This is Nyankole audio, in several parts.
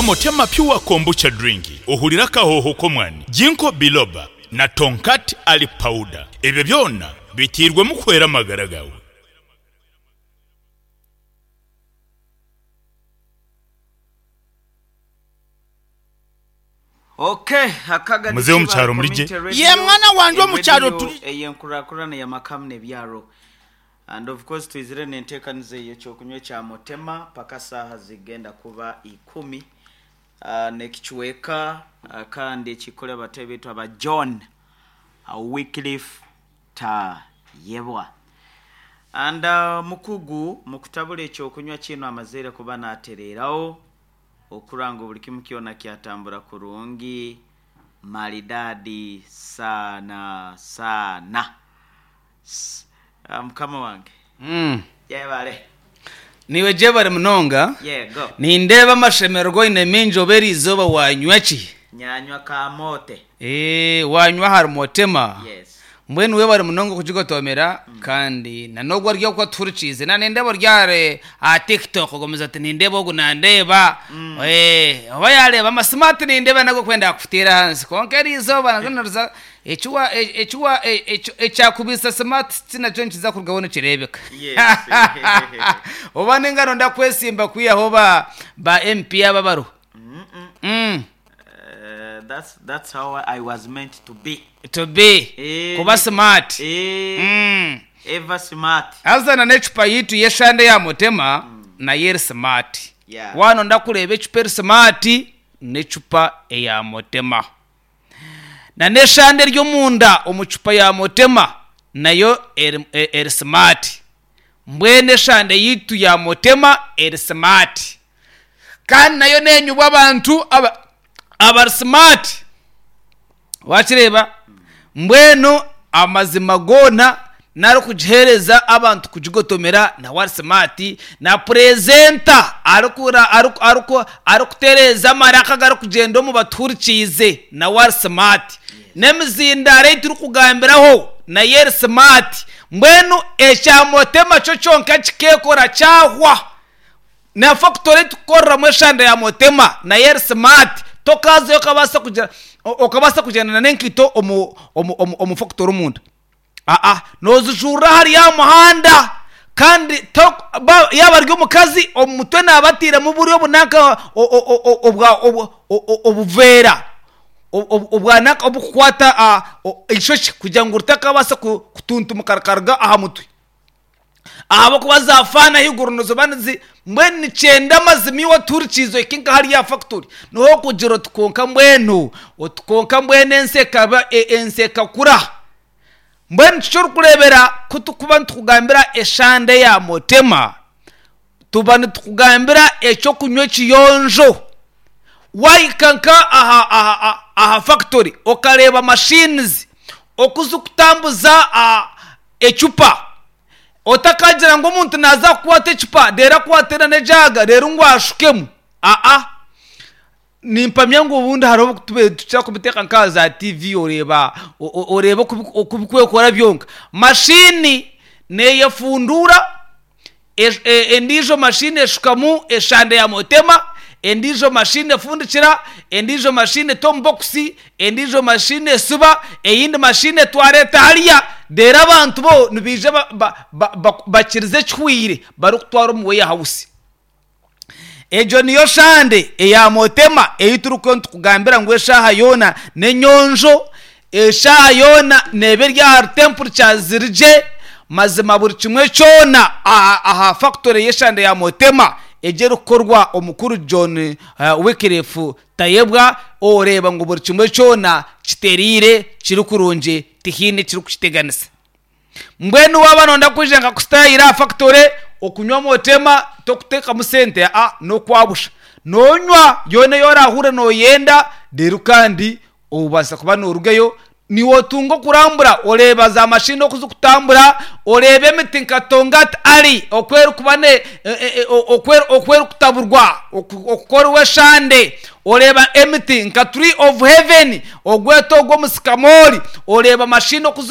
Nywa Motema Pure Kombucha Drink ohurire akahooho k'omwani, Ginkgo Biloba na Tongkat Ali Powder. Ebyo byona biteirwemu kuhwera amagara gaawe. Okay, akaga Muzeeyo omu kyaro muri gye. Ye mwana wangye omu kyaro turi gye. Eyenkurakurana y'amakamu n'ebyaro and of course twizire n'enteekaniza ey'ekyokunywa ekya Motema paka saaha zigenda kuba ikumi n'ekicweka kandi ekikore abatebi baitu aba John Wycliffe Tayebwa and omukugu mukutabura ekyokunywa kinu amazeire kuba natereeraho Okurora ngu buri kimu kyona kyatambura kurungi maridadi sana sana. Mukama wange yebare. Naiwe gyebare munonga. Yego. Nindeeba amashemererwa oine maingi oba eriizooba wanywa ki? Nyanywa kamote. Eeh wanywa ahari Motema. Yes. Mbwenu webare munonga okugigotomera kandi na n'ogu ori oku atuhurikiize na nindeeba ori ahari aha TikTok ogumize oti nindeeba ogu nandeeba eh, oba yareeba amasimu ati nindeeba nago kwenda akuteera ahansi kwonka eri izooba naryo niriza eki wa eki wa ekyakubiisa smart nakyo nikiza kurugaho nikireebeka Yes. oba ninga noyenda kwesimba kwihaho ba ba MP aba abariho. Mm. That's, that's how I was meant to be. To be. Eh, Kuba smart. Eh, Mm. ever smart. Haza na n'ecupa yaitu y'eshande ya Mutema nayo eri smart. Yeah. Waanonda kureeba ecupa eri smart, n'ecupa eya Mutema. Na n'eshande eri omunda omu cupa ya Mutema nayo eri, eri smart. Mbwenu eshande yaitu ya Mutema eri smart. Kandi nayo nenyubwa abantu abari smart. Wakireeba? Mbwenu amazima goona nari kugiheereza abantu kugigotomera nawe ari smart. Na purezenta arikutereeza amaraka agarikugyenda omu batuhurikiize nawe ari smart. N'emizindaaro ei turikugambiraho nayo eri smart. Mbwenu ekya Motema kyo kyonka kikeekora kyahwa. Na fakitori ei turikukoreramu eshanda ya Motema nayo eri smart. Tokaazayo okabaasa kugira okabaasa kugyenda n'enkaito omu omu omu omu fakitori omunda. Aa noozijuurira ahari aha muhanda kandi to ba yaaba ari omukazi omu mutwe naaba atairemu buriya obunanka obwa obuveera obwa nanka oburikukwata eishokye kugira ngu ritakabaasa kutuntumuka rikaruga aha mutwe. Ahabw'okuba za faani ahaiguru niziba nizi mbwenu nikyenda amazima iwe otuhurikiize ohike nka hariya aha fakitori niho orikugira oti kwonka mbwenu oti kwonka mbwenu ensi ekaba ensi ekakura. Mbwenu kiki orikureebera ku turikuba nitukugambira eshande ya Motema, tuba nitukugambira eky'okunywa ekiyonjo. Waahika nka aha aha aha fakitori okareeba machines oku zirikutambuza ecupa, otakagira ngu omuntu naaza kukwata ecupa reero akwate n'ejaaga reero ngu ashukemu. Aa. Nimpamya ngu obundi hariho obu tubaire nitukira kubiteeka nk'aha za tiivi oreeba oreeba oku birikwekora byonka. Mashiini neeyefunduura, endiijo mashiini eshukamu eshande ya motema, endiijo mashiini efundikira, endiijo mashiini eta omu bokisi, endiijo mashiini esiba, eyindi mashiini etwara eta hariya, reero abantu bo nibaija bakirize ekihweire barikutwara omu weyahawusi. Egyo niyo shande eya Motema ei turikuba nitukugambira ngu eshaaha yoona n'enyonjo, eshaaha yoona neeba eri ahari temperature ziri gye, mazima buri kimwe kyona aha factory y'eshande ya Motema egyo erikukorwa omukuru John Wycliffe Tayebwa oreeba ngu buri kimwe kyona kitereire kiri kurungi tihaine ekirikukiteganisa. Mbwenu waaba nooyenda kwija nka kusitayira aha fakitore okunywa motema tokuteekamu sente aa n'okwa busha. Noonywa yoona ei oraahure nooyenda reero kandi obaasa kuba noorugayo niiwe otunga okurambura oreeba za mashini oku zirikutambura, oreeba emiti nka Tongat Alley oku erikuba oku erikutaburwa okukorwa eshande, oreeba emiti nka Tree of Heaven Ogwete ogwo omusikamoori, oreeba mashini oku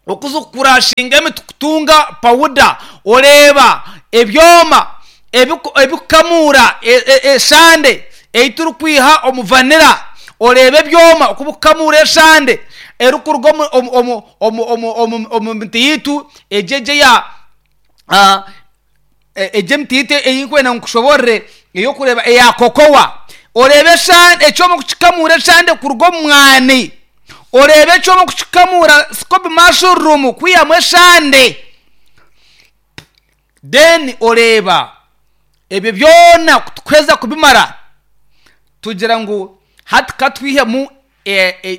oku zikukurashinga emiti kutunga pawuda, oreeba ebyoma. Ebikukamuura eshande ei turikwiha omu vanilla, oreeba ebyoma oku bikukamuura eshande erikuruga omu miti yaitu egi egi eya egi emiti yaitu ei ndikwenda ngu nkushoboorore ey'okureeba eya kokowa. Oreebe ekyoma oku kikukamuura eshande kuruga omu mwani, oreebe ekyoma oku kikukamuura sikobi mashuruumu kwihamu eshande. Then oreeba ebyo byona ku tukuheza kubimara tugira ngu hati ka twihemu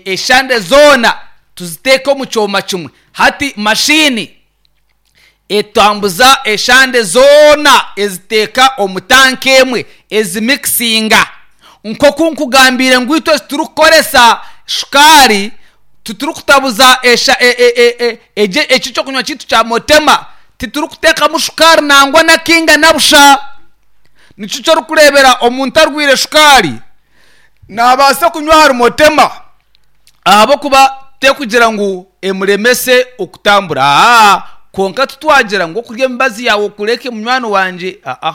eshande zoona tuziteeke omu kyoma kimwe. Hati mashini etambuza eshande zoona eziteeka omu tanka emwe ezimikisinga. Nk'oku nkugambiire ngu itwe titurikukoresa shukaari, titurikutabuza eki eky'okunywa kyaitu kya motema, titurikuteekamu shukaari nangwa n'akainga na busha. Nikyo eki orikureebera omuntu arwaire shukaari naabaasa kunywa ahari motema ahabw'okuba terikugira ngu emuremese okutambura. Aa kwonka titwagira ngu okurya emibazi yaawe okureke munywani wangye, aa.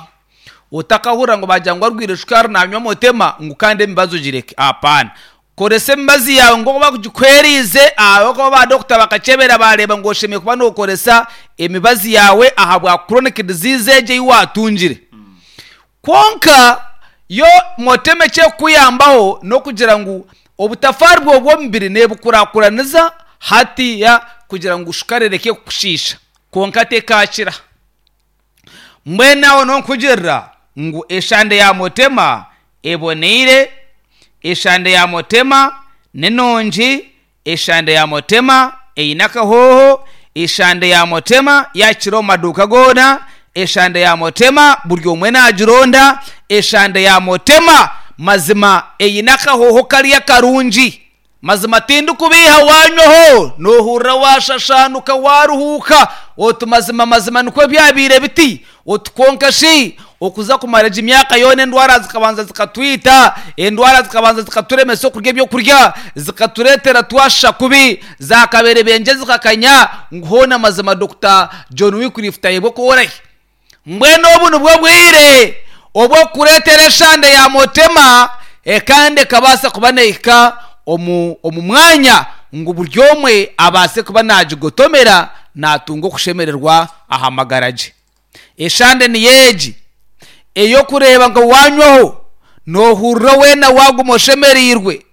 Otakahurira ngu baagira ngu arwaire shukaari naanywa motema ngu kandi emibazi ogireke. Apaana. Koresa emibazi yaawe nk'oku bakugikuheereize ahabw'okuba baadokita bakakyebera baareeba ngu oshemereire kuba nookoresa emibazi yaawe ahabwa chronic disease egyo ei waatungire. Kwonka yo motema eki erikukuyambaho n'okugira ngu obutafaari bwawe bw'omubiri neebukurakuraniza hatiiya kugira ngu shukaari ereke kukushiisha kwonka tekaakira. Mbwenu aho nonkugirira ngu eshande ya Mutema eboneire, eshande ya Mutema ni nungi, eshande ya Mutema eine akahooho, eshande ya Mutema yakira omu maduuka goona, eshande ya Mutema buri omwe nagironda, eshande ya Mutema mazima eine akahooho kariya karungi. Mazima tindikubeiha waanywaho noohurira waashashaanuka waaruhuuka oti mazima mazima nikwo byabaire biti oti kwonka shi okuza kumara egi myaka yoona endwara zikabanza zikatwita endwara zikabanza zikaturemesa okurya ebyokurya zikatureetera twashusha kubi zaakaberebengye zikakanya ngu hoona mazima Dokita John Wycliffe Tayebwa oku orahi. Mbwenu obu nibwo bwire obw'okukureetera eshande ya Mutema kandi ekabaasa kuba neehika omu omu mwanya ngu buri omwe abaase kuba naagigotomera naatunga okushemererwa aha magara gye. Eshande niyo egi ey'okureeba ngu waanywaho noohurira weena waaguma oshemereirwe.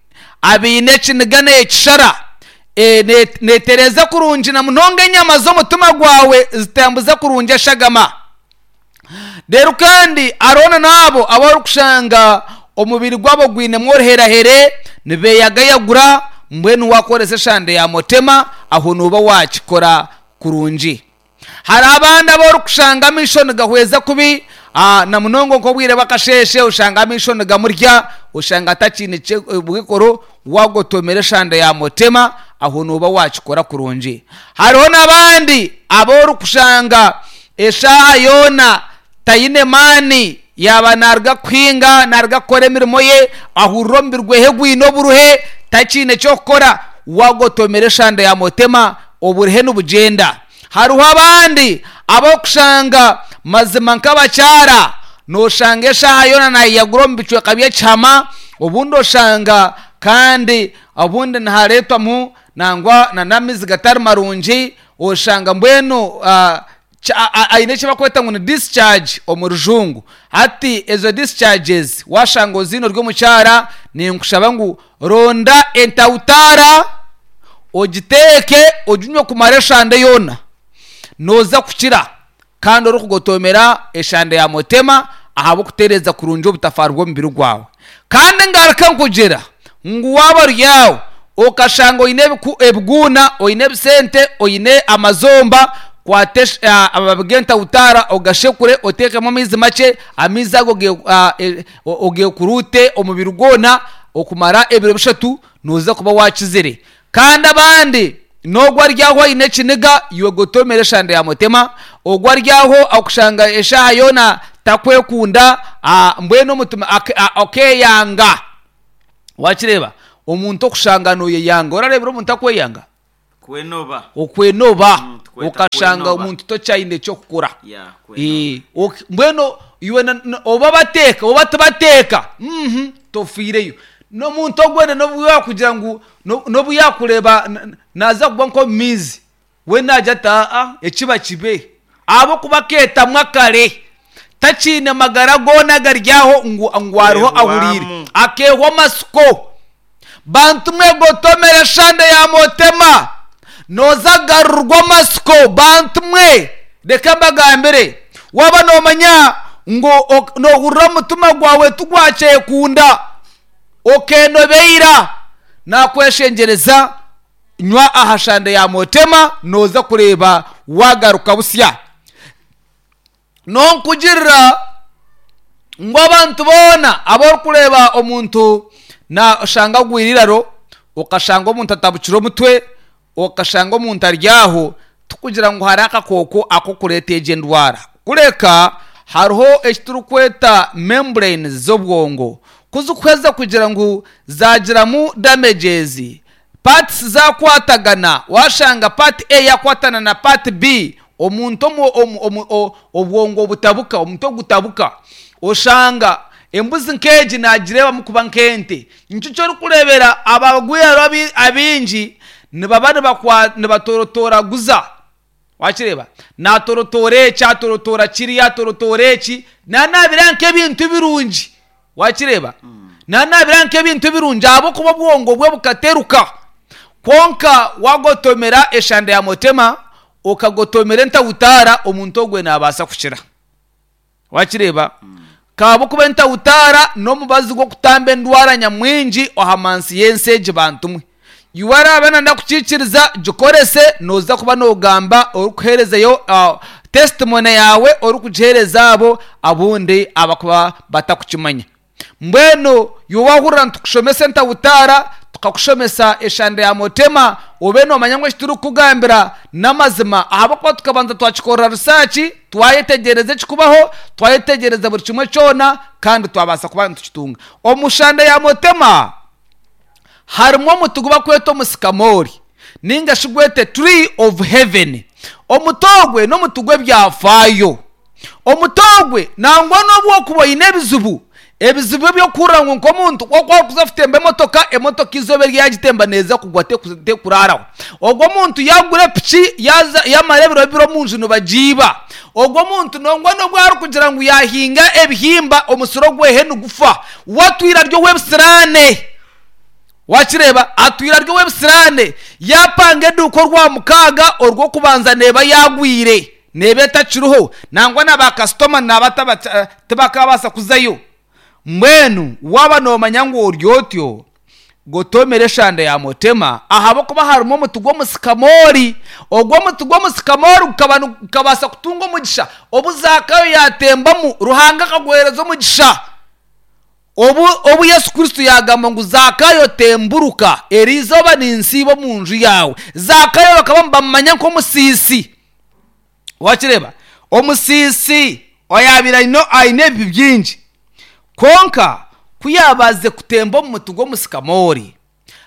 Abaine ekiniga neekishara, neetereeza kurungi na munonga enyama z'omutima gwawe zitambuza kurungi eshagama. Reero kandi hariho na n'abo abu orikushanga omubiri gwabo gwinemu oruheerahere, nibeeyagayagura, mbwenu waakoresa eshande ya mutema, aho nooba waakikora kurungi. Hariho abandi abu orikushanga amaisho nigahweza kubi na munonga nk'obwire bw'akasheeshe oshanga amaisho nigamurya oshanga atakiine bwikoro waagotomera eshanda ya mutema aho nooba waakikora kurungi. Hariho n'abandi abu orikushanga eshaaha yoona taine maani yaaba naaruga kuhinga naaruga kukora emirimo ye ahurira omubiri gwe gwine oburuhe takiine ky'okukora waagotomera eshanda ya mutema oburuhe nibugyenda. Hariho abandi ab'okushanga mazima nk'abakyara noshanga eshaaha yoona nayeyagura omu bicweka by'ekihama obundi oshanga kandi obundi nihareetwamu nangwa n'amaizi gatari marungi oshanga mbwenu aine eki barikweta ngu ni discharge omu rujungu hati ezo discharges washanga oziine ori omukyara ninkushaba ngu ronda entawutaara ogiteeke oginywe kumara eshande yoona nooza kukira kandi orikugotomera eshande ya mutema ahabw'okutereeza kurungi obutafaari bw'omubiri gwawe. Kandi ngaruka nkugira ngu waaba ori aho okashanga oine ebiguuna, oine ebisente, oine amazomba, kwata amababi g'entawutaara ogashekure oteekemu amaizi makye, amaizi ago ogeekuruute omubiri gwona okumara ebiro bishatu nooza kuba waakizire. Kandi abandi, n'ogwo ari aho aine ekiniga, iwe gotomera eshande ya mutema, ogwo ari aho akushanga eshaaha yoona takwekunda, mbwenu omutima akeeyanga. Waakireeba? Omuntu okushanga nooyeyanga. Orareebire omuntu akweyanga? Kwenoba. Okwenoba. Tukweta Okashanga kwenoba. omuntu tokyaine ky'okukora. Yeah, kwenoba. Mbwenu. Iwe oba bateeka oba tibateeka tofiireyo. N'omuntu ogwo n'obu yaakugira ngu n'obu yaakureeba naaza kugwa nk'omu maizi, we naagira ati aa ekiba kibe. Ahabw'okuba akeetamwa kare, takiine magara goona agari aho ngu ngu hariho ahuriire. Akeehwamu. Akeehwa amatsiko. Bantu mwe gotomera eshande ya motema, nooza kugarurwa amatsiko. Bantu mwe reka mbagambire, waaba noomanya ngu noohurira omutima gwawe tigwakyekunda, okeenobeira, naakweshengyereza nywa aha shande ya motema, nooza kureeba waagaruka busya. Nonkugirira ngu abantu boona abu orikureeba omuntu nashanga agwire eiraro, okashanga omuntu atabukire omutwe, okashanga omuntu ari aho, tikugira ngu hariho akakooko ak'okureeta egyo endwara. Kureka hariho eki turikweta membranes z'obwongo, ku zikuheza kugira ngu zaagiramu damages, parts zakwatagana, washanga part A yakwatana na part B, omuntu obwongo butabuka, omutwe gutabuka, oshanga embuzi nk'egi nagireebamu kuba nk'ente. Nikyo eki orikureebera abagwiraro abaingi nibaba nibatorotoraguza. Wakireeba? Naatorotoora eki, atorotoora kiriya, atorotoora eki, naanaabira nk'ebintu birungi. Wakireeba? Naanaabira nk'ebintu birungi ahabw'okuba obwongo bwe bukateruka. Kwonka waagotomera eshanda ya motema, okagotomera entawutaara, omuntu ogwe naabaasa kukira. Wakireeba? Ahabw'okuba entawutaara n'omubazi gw'okutamba endwara nyamwingi aha mansi y'ensi egi bantu mwe. Iwe araabe nanda kukiikiriza, gikorese, nooza kuba noogamba orikuheerezayo testimony yaawe orikugiheereza abo abundi abakuba batakukimanya. Mbwenu iwe waahurira nitukushomesa entawutaara, tukakushomesa eshanda ya motema, obe noomanya ngu eki turikukugambira n'amazima ahabw'okuba tukabanza twakikorera risaaki, twayetegyereza ekirikubaho, twayetegyereza buri kimwe kyona kandi twabaasa kuba nitukitunga. Omu shanda ya motema harimu omuti ogu barikweta omusikamoori nainga shi gwete tree of heaven. Omuti ogwe n'omuti gw'ebyafaayo. Omuti ogwe nangwa n'obu orikuba oine ebizibu, ebizibu eby'okuhurira ngu nk'omuntu ku orikuza kutemba emotoka, emotoka eizooba eri yaagitemba neeza kugwa tekuraaraho. Ogwo omuntu yaagura epiki yaaza yaamara ebiro bibiri omu nju nibagiiba. Ogwo omuntu nangwa n'obu arikugira ngu yaahinga ebihimba omusiri ogwehe nigufa, we atwire ari ow'ebisiraane. Wakireeba? Atwire ari ow'ebisiraane. Yaapanga eduuka Orwamukaaga, Orwokubanza neeba yaagwire, neeba etakiriho. Nangwa na baakasitoma naaba tibakaabaasa kuzayo. Mbwenu waaba noomanya ngu ori otyo, gotoomera eshanda ya motema, ahabw'okuba harimu omuti gw'omusikamoori. Ogwo omuti gw'omusikamoori gukaba gukabaasa kutunga omugisha obu Zaakayo yaatembamu, Ruhanga akaguheereza omugisha. Obu, obu Yesu Kristo yaagamba ngu, Zaakayo temburuka, eri izooba ninsiiba omu nju yaawe. Zaakayo bakaba nibamumanya nk'omusiisi. Wakireeba? Omusiisi oyaabaire aine, aine ebibi bingi. Kwonka ku yaabaasize kutemba omu muti gw'omusikamoori,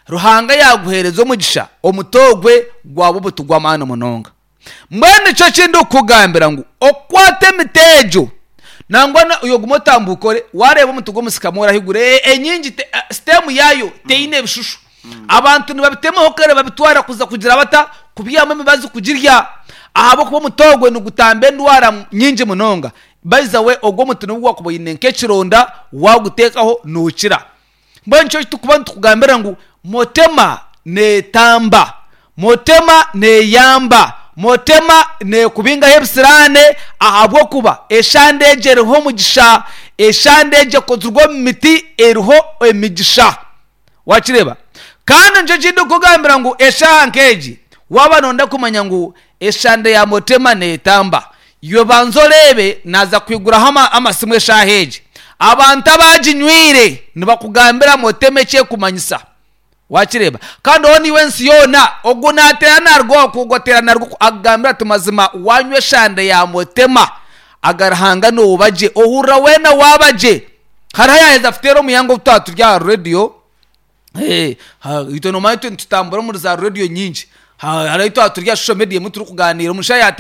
Ruhanga yaaguheereza omugisha, omuti ogwe gwaba omuti gw'amaani munonga. Mbwenu nikyo eki ndikukugambira ngu okukwata emiti egyo, nangwa na iwe guma otambuuke ore, waareeba omuti gw'omusikamoori ahaiguru, enyingi te, siteemu yaayo teine bishushu. Abantu nibabitemaho kare babitwara kuza kugira bata? Kubyihamu emibazi kugirya. Ahabw'okuba omuti ogwo nigutamba endwara nyingi munonga. By the way, ogwo omuti n'obu waakuba oine nk'ekironda, waaguteekaho nookira. Mbwenu nikyo turikuba nitukugambira ngu Motema neetamba, Motema neeyamba, Motema neekubingaho ebisiraane ahabw'okuba eshande egyo eriho omugisha, eshande egyo ekozirwe omu miti eriho emigisha. Waakireeba? Kandi nikyo eki ndikukugambira ngu eshaaha nk'egi waaba nooyenda kumanya ngu eshande ya Motema neetamba, Iwe banza oreebe naaza kwiguraho amasimu eshaaha egi. Abantu abaaginywire nibakugambira motema eki erikumanyisa. Waakireeba? Kandi hoona iwe ensi yoona, ogwo naateera naaruga oku, ogwo ateera naaruga oku, akugambira ati mazima waanywa eshande ya motema, aga Ruhanga nooba gye. Ohurira weena waaba gye. Hariho ayaaheza kuteera omuyanga obu twaba turi aha reediyo, Itwe noomanya itwe nitutambura omuri zaarediyo nyingi. Hariho ahu twaba turi aha social media emwe turikugaaniira, omushaija.